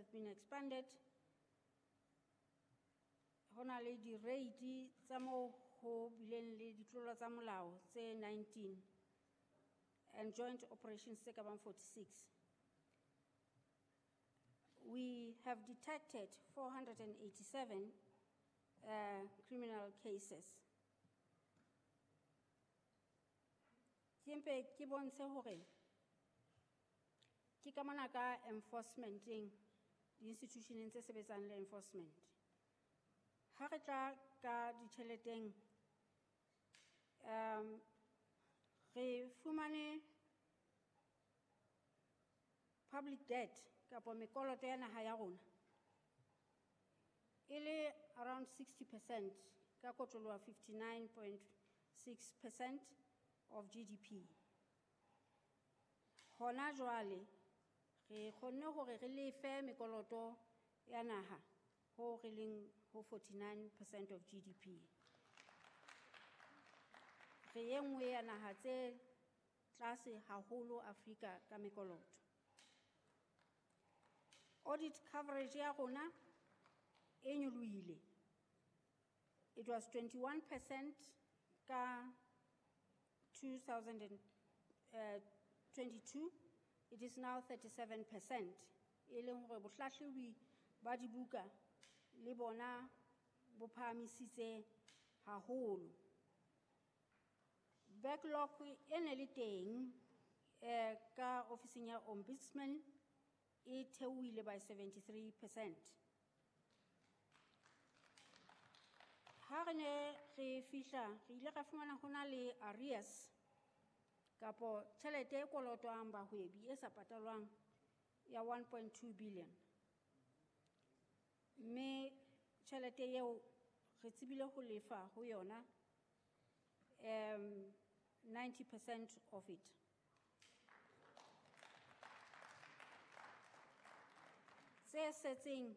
have been expanded. Ho na le di-rate tsa moo ho bileng le ditlolo tsa molao tse 19 and joint operations tse ka bang 46. We have detected 487 criminal cases. Ke mpe ke bontshe hore ke ka mona ka enforcementeng, di-institutioneng tse sebetsang le enforcement. Ha re tla ka ditjheleteng, re fumane public debt kapa mekoloto ya naha ya rona e le around 60% ka kotloloha 59.6% of GDP. Hona jwale re kgonne hore re lefe mekoloto ya naha ho re leng ho 49% of GDP. Re e nngwe ya naha tse tlase haholo Afrika ka mekoloto. Audit coverage ya rona e nyolohile. It was 21% ka 2022. It is now 37%. E leng hore bohlahlobi ba dibuka le bona bo phahamisitse haholo. Backlog e ne le teng ka ofising ya Ombudsman e theohile by 73%. Ha re ne re fihla, re ile ra fumana ho na le arrears kapo tjhelete e kolotwang bahwebi e sa patalwang ya 1.2 billion. Mme tjhelete eo re tsebile ho lefa ho yona 90% of it. Tse setseng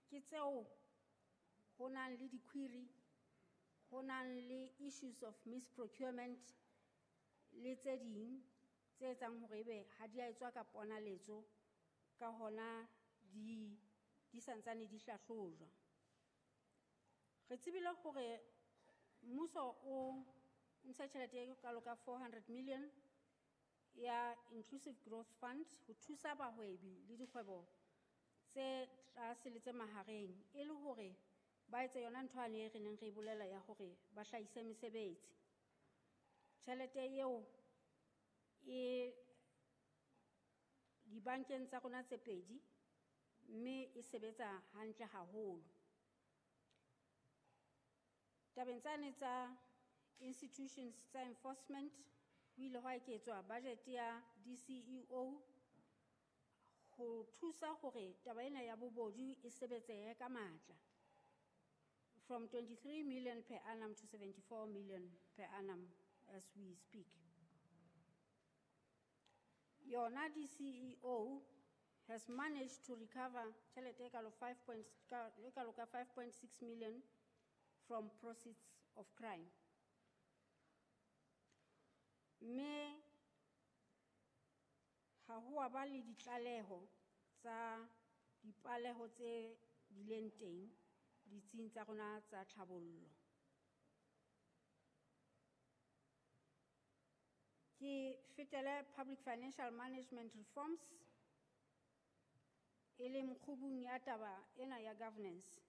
ke tseo ho nang le di-query, ho nang le issues of misprocurement le tse ding tse etsang hore ebe ha di a etswa ka ponaletso, ka hona di santsane di hlahlojwa. Re tsebile hore mmuso o ntsha tjhelete e kalo ka 400 million ya Inclusive Growth Fund ho thusa bahwebi le dikgwebo tse tlase le tse mahareng e le hore ba etse yona ntho ane e re neng re e bolela ya hore ba hlahise mesebetsi. Tjhelete eo e dibankeng tsa rona tse pedi mme e sebetsa hantle haholo. Tabeng tsane tsa institutions tsa enforcement, ho ile hwa eketswa budget ya DCEO ho thusa hore taba ena ya bobodu e sebetsehe ka matla, from 23 million per annum to 74 million per annum as we speak. Yona DCEO has managed to recover tjhelete e kalo five point, ka, e kalo ka 5.6 million from proceeds of crime. Mme ha ho a ba le ditlaleho tsa dipaleho tse bileng teng ditsing tsa rona tsa tlhabollo. Ke fetele public financial management reforms e leng kgubung ya taba ena ya governance.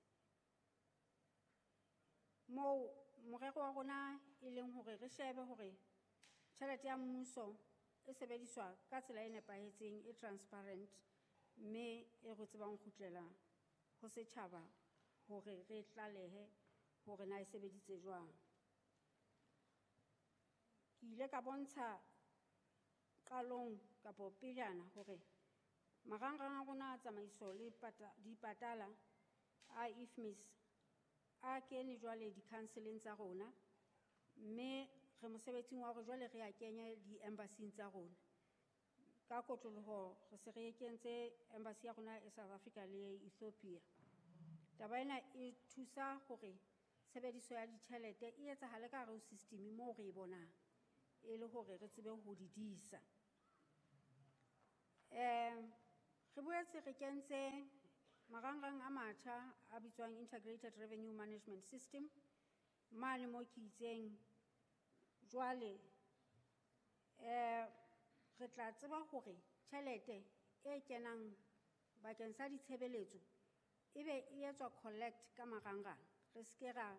Moo morero wa rona e leng hore re shebe hore tjhelete ya mmuso e sebediswa ka tsela e nepahetseng, e transparent, mme e re tsebang kgutlela ho setjhaba hore re tlalehe hore na e sebeditse jwang. Ke ile ka bontsha qalong kapo pejana hore marangrang a rona a tsamaiso le dipatala a IFMIS a kene jwale di-counseleng tsa rona, mme re mosebetsing wa hore jwale re a kenye di-embassy-ing tsa rona. Ka kotloloho re se re kentse embassy ya rona e South Africa le Ethiopia. Taba ena e thusa hore tshebediso ya ditjhelete e etsahale ka hare ho system moo re e bonang, e le hore re tsebe ho di disa. Re boetse re kentse marangrang a matjha a bitswang Integrated Revenue Management System mane mo ke itseng jwale re tla tseba hore tjhelete e kenang bakeng sa ditshebeletso ebe e etswa collect ka marangrang, re seke ra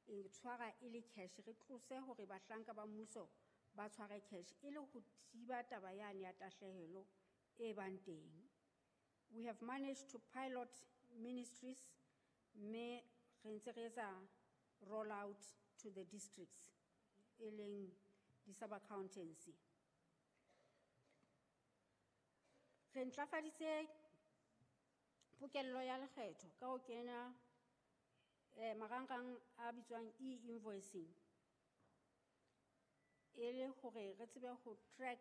e tshwara e le cash, re tlose hore bahlanka ba mmuso ba tshware cash e le ho thiba taba yane ya tahlehelo e bang teng. We have managed to pilot ministries, mme re ntse re etsa roll out to the districts, e leng di-sub-accountancy. Re ntlafaditse pokello ya lekgetho ka ho kena marangrang a bitswang e-invoicing, e le hore re tsebe ho track,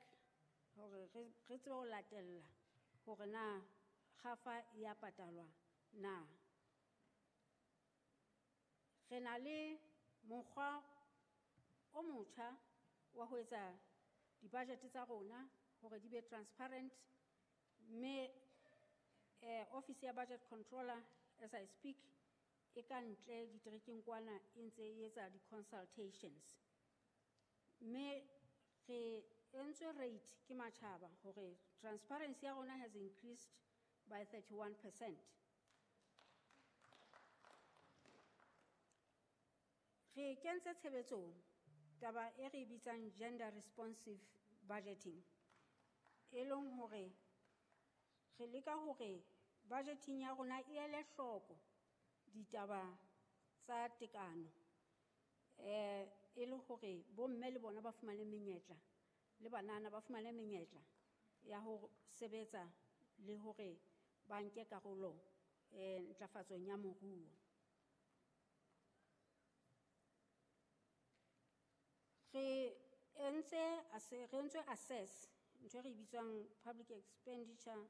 hore re tsebe ho latella hore na kgafa ya patalwa na. Re na le mokgwa o motjha wa ho etsa di-budget tsa rona hore di be transparent, mme office ya budget controller as I speak e ka ntle diterekeng kwana e ntse e etsa di-consultations. Mme re entswe rate ke matjhaba hore transparency ya rona has increased by 31%. Re kentse tshebetsong taba e re bitsang gender responsive budgeting, e leng hore re leka hore budgeting ya rona e ele hloko ditaba tsa tekano, e le hore bomme le bona ba fumane menyetla le banana ba fumane menyetla ya ho sebetsa le hore ba nke karolo ntlafatsong ya moruo. Re entse assess ntho e re bitswang public expenditure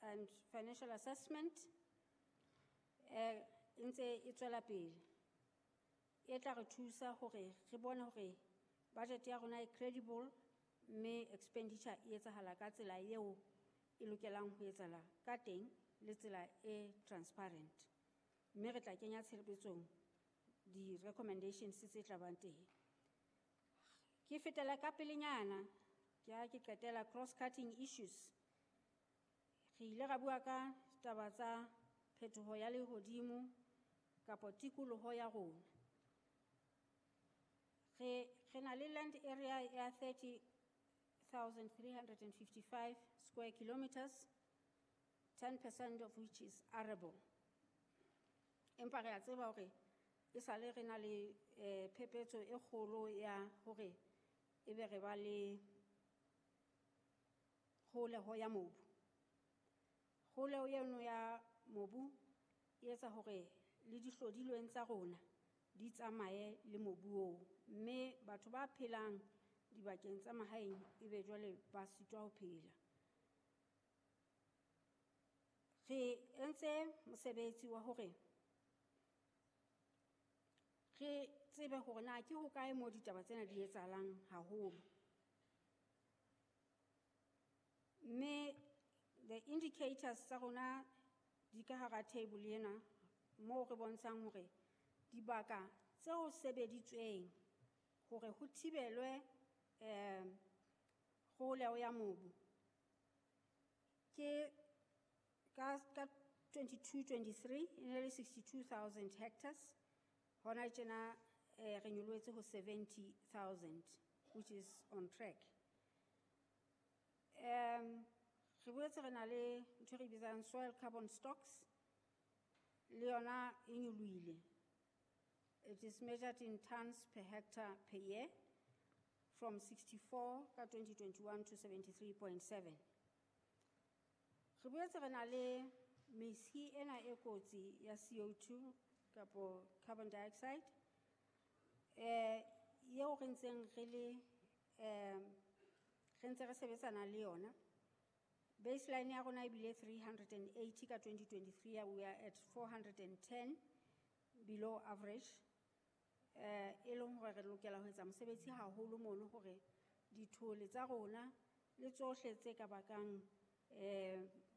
and financial assessment, e ntse e tswela pele, e tla re thusa hore re bone hore budget ya rona e credible mme expenditure e etsahala ka tsela eo e lokelang ho etsahala ka teng le tsela e transparent, mme re tla kenya tshebetsong di-recommendations tse tla bang teng. Ke fetela ka pelenyana, ke ha ke qetela cross-cutting issues. Re ile ra bua ka taba tsa phetoho ya lehodimo kapa tikoloho ya rona. Re na le land area ya 30,355 square kilometers, 10% of which is arable. Empa re a tseba hore e sale re na le phephetso e kgolo ya hore ebe re ba le kgoholeho ya mobu. Kgoholeho eno ya mobu e etsa hore le dihlodilweng tsa rona di tsamaye le mobu oo, mme batho ba phelang dibakeng tsa mahaeng ebe jwale ba sitwa ho phela. Re entse mosebetsi wa hore re tsebe hore na ke hokae moo ditaba tsena di etsahalang haholo. Mme the indicators tsa rona di ka hara table ena moo re bontshang hore dibaka tseo sebeditsweng hore ho thibelwe kgoholeho ya mobu ke ka 22-23 e ne le 62,000 hectares. Hona tjena re nyolohetse ho 70,000, which is on track. Re boetse re na le ntho e re bitsang soil carbon stocks, le yona e nyolohile. It is measured in tons per hectare per year from 64 ka 2021 to 73.7. Re boetse re na le mesi ena e kotsi ya CO2 kapo carbon dioxide, eo re ntseng re le, re ntse re sebetsana le yona. Baseline ya rona ebile 380 ka 2023, we are at 410 below average. E leng hore re lokela ho etsa mosebetsi haholo mono hore dithole tsa rona le tsohle tse ka bakang Eh,